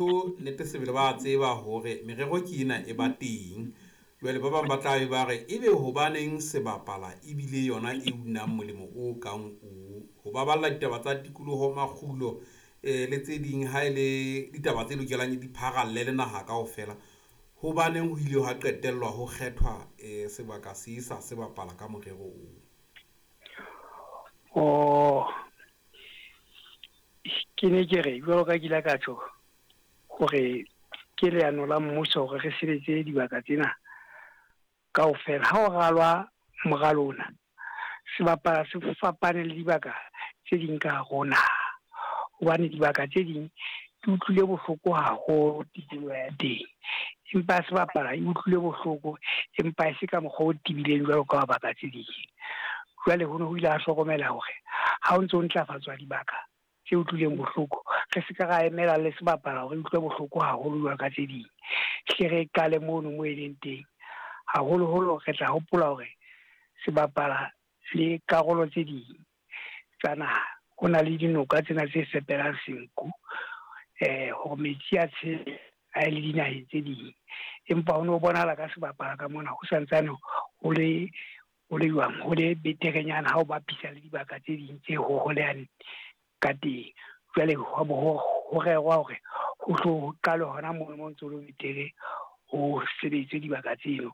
Nnete sebele ba tseba hore merero ke ena e ba teng. Jwale ba bang ba tla be ba re ebe hobaneng sebapala ebile yona e unang molemo o kang o ho baballa ditaba tsa tikoloho, makgulo le tse ding, ha e le ditaba tse lokelang di pharalle le naha kaofela. Hobaneng ho ile hwa qetellwa ho kgethwa sebaka se sa sebapala ka morero oo? Oh, ke ne ke re jwalo ka ke ile ka tjho hore ke leano la mmuso hore re sebetse dibaka tsena kaofela. Ha o ralwa moralo ona, sebapala se fapane le dibaka tse ding ka hare ho naha, hobane dibaka tse ding di utlwile bohloko haholo tikoloho ya teng, empa sebapala e utlwile bohloko empa e se ka mokgwa o tibileng jwalo ka baka tse ding. Jwale ho ne ho ile ha hlokomela hore ha o ntso ntlafatswa dibaka tse utlwileng bohloko, re se ka ra emela le sebapala hore e utlwe bohloko haholo jwalo ka tse ding, hle re qale mono mo e leng teng. Haholoholo re tla hopola hore sebapala le karolo tse ding tsa naha ho na le dinoka tsena tse fepelang senku, hore metsi a tshele a ye le dinaheng tse ding, empa ho no bonahala ka sebapala ka mona ho santsane ho le jwang, ho le beterenyana ha o bapisa le dibaka tse ding tse hoholehang ka teng. Jwale ho rerwa hore ho hlo qalwe hona mono mo ntso le betere, ho sebediswe dibaka tseno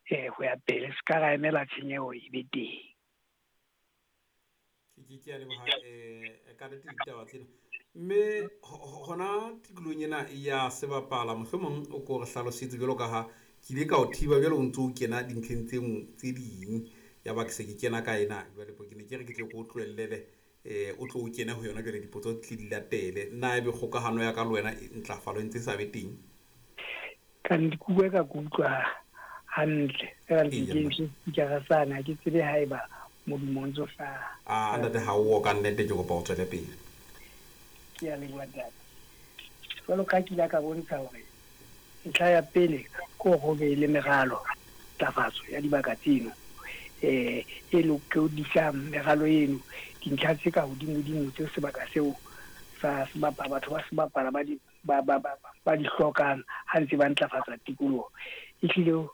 ho ya pele, se ka ra emela tshenyeho e be teng. Ke a leboha ka nnete ditaba tsena. Mme hona tikolohong ena ya sebapala, mohlomong o ko re hlalosetse jwalo ka ha ke ile ka o thiba jwale o ntso o kena dintlheng tse ding, ya ba ke se ke kena ka ena. Jwale ke ne ke re ke tle ke o tlohellele o tlo o kene ho yona jwale, dipotso di tle di latele. Nna ebe kgokahano ya ka le wena ntlafalo e ntse e sa be teng? Ka nkutlwa ka kutlwa hantle. Feela ntse ke ntse speaker sane, ha ke tsebe haeba modumo o ntso hlaha. A ntate, ha o ka nnete ke kopa o tswele pele. Ke a leboha ntate. Jwalo ka ke ile ka bontsha hore ntlha ya pele ke hore ho be le meralo ntlafatso ya dibaka tseno, e lokodisang meralo eno, dintlha tse ka hodimodimo tse sebaka seo sa sebapala, batho ba sebapala ba di ba di hlokang ha ntse ba ntlafatsa tikoloho. Ehlile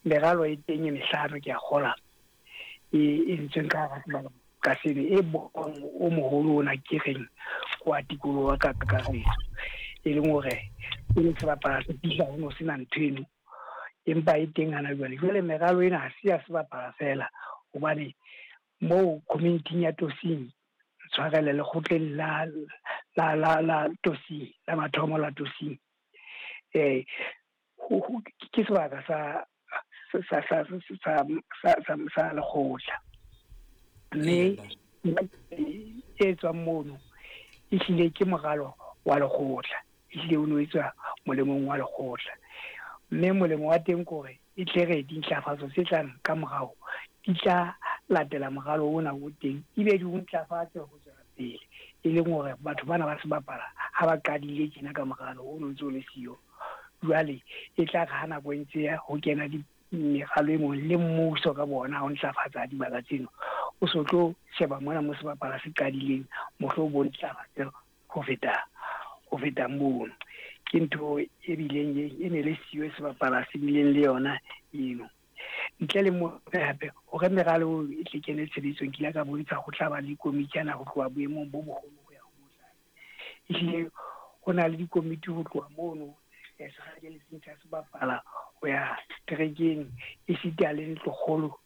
meralo e teng e mehlano ke a kgola e entsweng ka hara sebaka ka seno, e bong o moholo ona ke reng wa tikoloho ka kakaretso, e leng hore pele sebapala se fihla ho no sena ntho eno, empa e teng hana jwale. Jwale meralo ena ha se ya sebapala feela, hobane moo community ya Tosing, tshwarele lekgotleng la la la la Tosing, la mathomo la Tosing, ke sebaka sa sa sa sa sa sa lekgotla, mme e tswang mono ehlile ke moralo wa lekgotla, ehlile o no etswa molemong wa lekgotla, mme molemo wa teng ke hore e tle re dintlafatso tse tlang ka morao di tla latela moralo ona o teng, ebe di o ntlafatse ho tswela pele, e leng hore batho bana ba sebapala ha ba qadile tjena ka moralo o no ntse o le siyo. Jwale e tla re ha nako e ntse ya ho kena meralo e mong le mmuso ka bona ho ntlafatsa dibaka tseno, o so tlo sheba mona mo sebapala se qadileng, mohlo bo ntlafatse ho feta mono. Ke ntho e bileng e ne le siyo sebapala se bileng le yona eno. Ntle le moo hape hore meralo e tle kene tshebetsong, ke ile ka bontsha ho tla ba le dikomiti ana ho tloha boemong bo boholo ho ya ho bo tlase. Ehlile ho na le dikomiti ho tloha mono sehakeletseng sa sebapala ho ya terekeng, esita le ntlokgolo